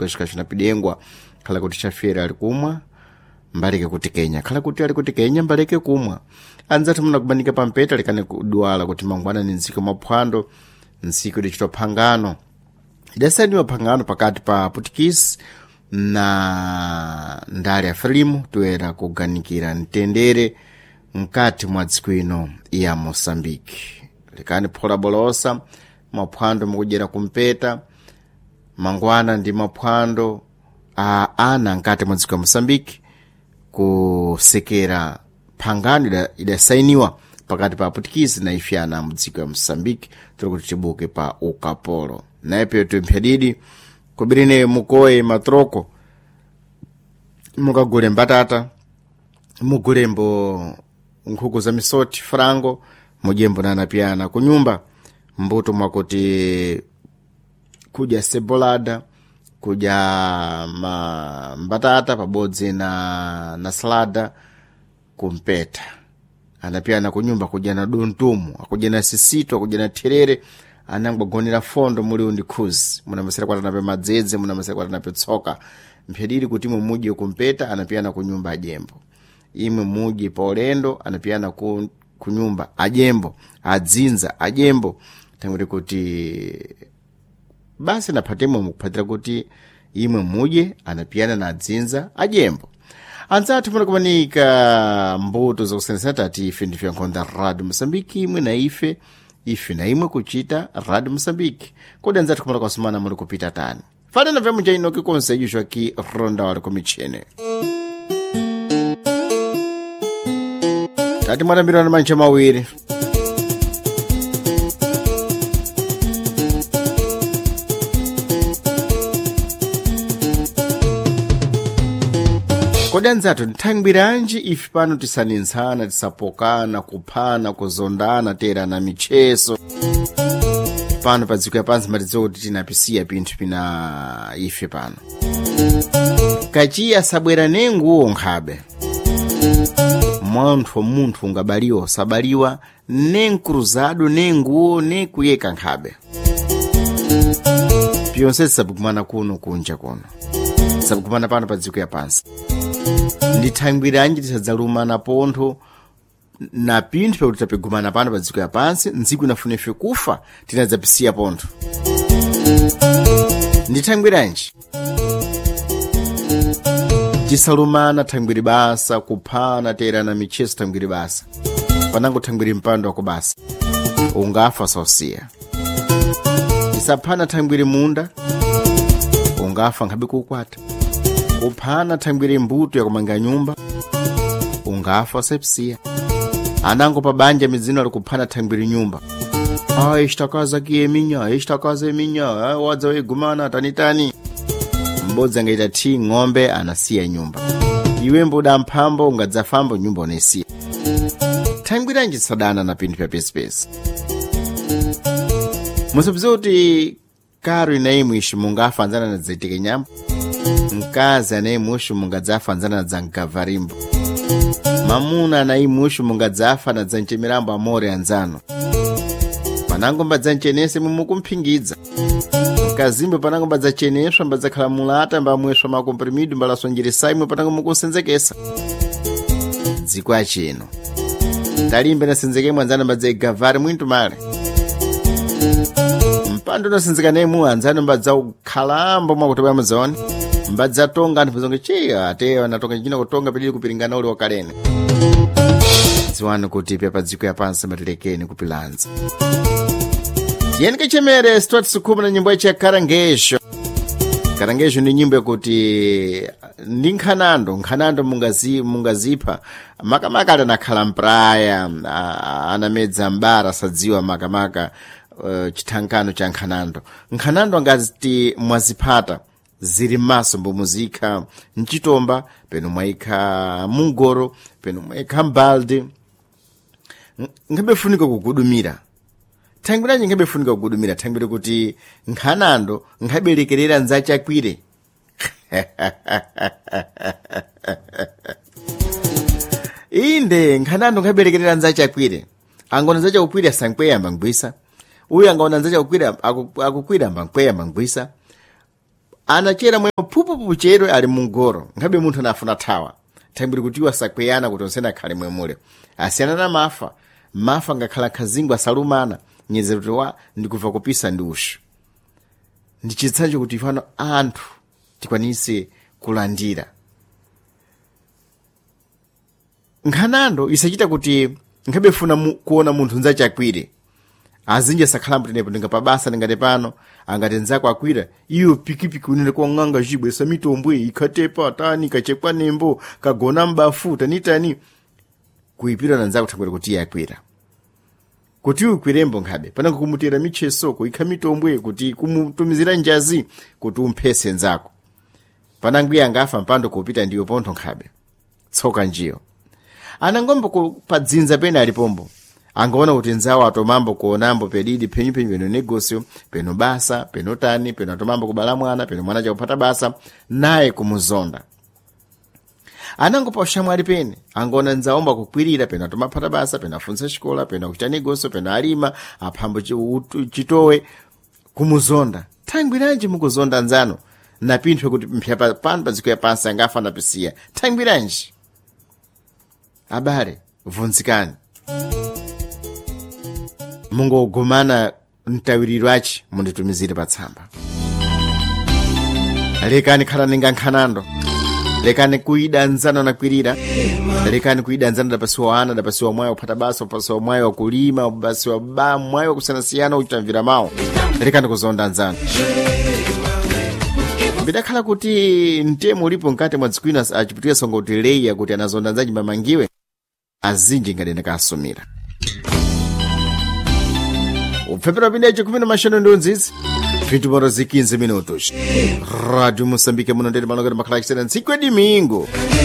Kushika chinapidengwa khala kuti chafera ali kumwa mbaleke kuti kenya khala kuti ali kuti kenya mbaleke kumwa. Anzathu munakubanika pampeta likane kudwala kuti mangwana ni ntsiku maphwando, ntsiku idachitwa phangano, idasaniwa phangano pakati pa Putikisi na ndale ya Frelimo toyera kuganikira mtendere mkati mwa dziko ino ya Moçambique. Lekani phola bolosa maphwando mukudyera kumpeta mangwana ndi maphwando a ana mkati mwa dziko ya Moçambique kusekera phangano idasainiwa pakati pa Aputikisi na ife ana mudziko ya Moçambique tiri kuti tibuke pa ukapolo. Nayepeyo timphyadidi kubirine mukoye matroko mukagule mbatata, mugulembo nkhuku za misoti frango, mudyembo na anapiyana kunyumba mbuto mwakuti kudya cebolada, kudya mbatata pabodzi na salada kumpeta. Anapiyana kunyumba kudya na duntumu, akudya na sisito, akudya na therere, anangwagonera fondo muli ndi khuzi, munamasera kwati anape madzedze, munamasera kwati anape tsoka. Mphediri kuti imwe mudye kumpeta, anapiyana kunyumba ajembo. Imwe mudye pa ulendo, anapiyana kunyumba ajembo, adzinza ajembo. Tanguti kuti basi naphatemo mukuphatira kuti imwe mudye anapiyana na adzinza ajembo. Anzathu munakumanika mbuto zakusenesa tati ife ndife yankhonda Radio Moçambique, imwe na ife, ife na imwe kuchita Radio Moçambique. Kodi anzathu kumala kwasumana muli kupita tani? Fanana vyamwe cha inoki konse icho ki ronda wali kumichene. Tati mwatambirana mantcha mawiri. Kodi anzathu nthangwiranji ife pano tisanintsana, tisapokana, kuphana, kuzondana, terana micheso pano pa dziko yapansi matidziwa kuti tinapisiya pinthu pina ife pano. Kachiya sabwera nenguwo nkhabe. Munthu munthu ungabaliwa usabaliwa nenkruzado nenguwo nekuyeka nkhabe. Pyonse tisabukumana kuno kunja kuno, tisabukumana pano pa dziko yapansi. Ndithangwiranji tisadzalumana pontho na pinthu pakuti tapigumana pano pa dziko yapansi, ntsiku inafuna ife kufa tinadzapisiya pontho. Ndithangwiranji tisalumana thangwiri basa, kuphana, terana micheso thangwiri basa, panango thangwiri mpando wako basa, ungafa sausiya. Tisaphana thangwiri munda, ungafa nkhabe kukwata. Kuphana thangwiri mbuto yakumanga nyumba, ungafa sepsiya. Anango pa banja midzino ali kuphana thangwiri nyumba. Ah, ishtakaza kiye minya, ishtakaza minya, ah, wadza wegumana tanitani. Mbodzi angaita thi ng'ombe anasiya nyumba. Iwe mbuda mphambo ungadzafambo nyumba unaisiya. Thangwiranji sadana na pinthu pya pesipesi. Musapziwe kuti karo inayi ishi mungafa anzana na dzaitike nyambo. Mkazi anayi mushu mungadzafa anzana na dzamgavarimbo. Mamuna anayi mushu mungadzafa na dzanchemirambo amore anzano. Panango mbadzancenese mumukumphingidza. Mkazimbe panango mbadzacheneswa mbadzakhala mulata mbamweswa makomprimido mbalasonjeresa imwe panango mukusenzekesa. Dziko achino. Talimbe nasenzekemwe anzano mbadzaigavari mwintu male. Mpando unasenzeka nemu anzano mbadzaukhalambo mwakuti bwa muzaone. Mbadzatonga anthu pazonge chiya ateyo anatonga china kutonga pedili kupiringana uli wakalene. Dziwani kuti pya pa dziko yapansi matilekeni kupilanza. Tiyeni kachemere sitwati sukhumi na nyimbo yachi ya karangesho. Karangesho ndi nyimbo yakuti ndi nkhanando, nkhanando mungazipha makamaka ali anakhala mpraya, anamedza mbara sadziwa makamaka chithankano cha nkhanando. Nkhanando angati mwaziphata zili m'maso mbomuzikha mchitomba, peno mwayikha mungoro, peno mwayikha mbaldi. Nkhabe funika kugudumira. Thangwiranji nkhabe funika kugudumira, thangwire kuti nkhanando nkhabelekerera nzachakwire. Inde nkhanando nkhabelekerera nzachakwire. Angona nzachakukwira sankweya ambangwisa. Uyu angaona nzachakukwira akukwira ambankweya ambangwisa. Anachera mwe Pafupifupi chero ali mungoro nkhabe munthu anafuna thawa thambiri kuti iwo asakweyana kuti onsene akhale mwemule asiyana na mafa mafa ngakhala khazingu asalumana nyezero kuti wa ndikubva kupisa ndi ushu. Ndi chitsanzo kuti ifano anthu tikwanise kulandira nkhanando isachita kuti nkhabe funa kuona munthu nzachakwire azinji asakhalambo tenepo ndingapabasa ndingati pano angati nzako akwira iyo pikipiki unene kwang'anga chibwesa mitombwe ikhatepa tani kachekwa nembo kagona mbafu tanitani kuipira na nzako thangwera kuti iye akwira kuti ukwirembo nkhabe panango kumutera micheso kuikha mitombwe kuti kumutumizira njazi kuti umphese nzako panango iye angafa mpando kupita ndiyo pontho nkhabe tsoka njiyo anangombo padzinza pene alipombo angaona kuti nzawo atomambo kuonambo pedidi phenyuphenyu peno negosio peno basa peno tani peno atomambo kubala mwana peno mwana chakuphata basa naye kumuzonda anango pa ushamwali pene angaona nzaomba kukwirira peno atomaphata basa peno afunsa xikola peno akuchita negosio peno alima aphambo chitowe kumuzonda thangwiranji mukuzonda nzano napinthwe kuti mpya pano padziko ya pansi angafa napisiya thangwiranji abale vunzikani mungogumana mtawiriro achi munditumizire patsamba. Lekani khalani nga nkhanando, lekani kuida nzano nakwirira, lekani kuida nzano dapasiwa ana dapasiwa mwayi wakuphata basa upasiwa mwayi wakulima upasiwa ba mwayi wakusiyanasiyana uchitamvira mawu, lekani kuzonda nzano. Bidakhala kuti mtemo ulipo mkati mwa dziko ino achiputika songo kuti leya kuti anazonda nzaji mamangiwe azinji ngati ndakasumira upfepera pindecho kumene mashano ndi unzizi 20 horas e 15 minutos. Rádio Moçambique muno ndeti malongero makhala achisena ntsiku ya domingo.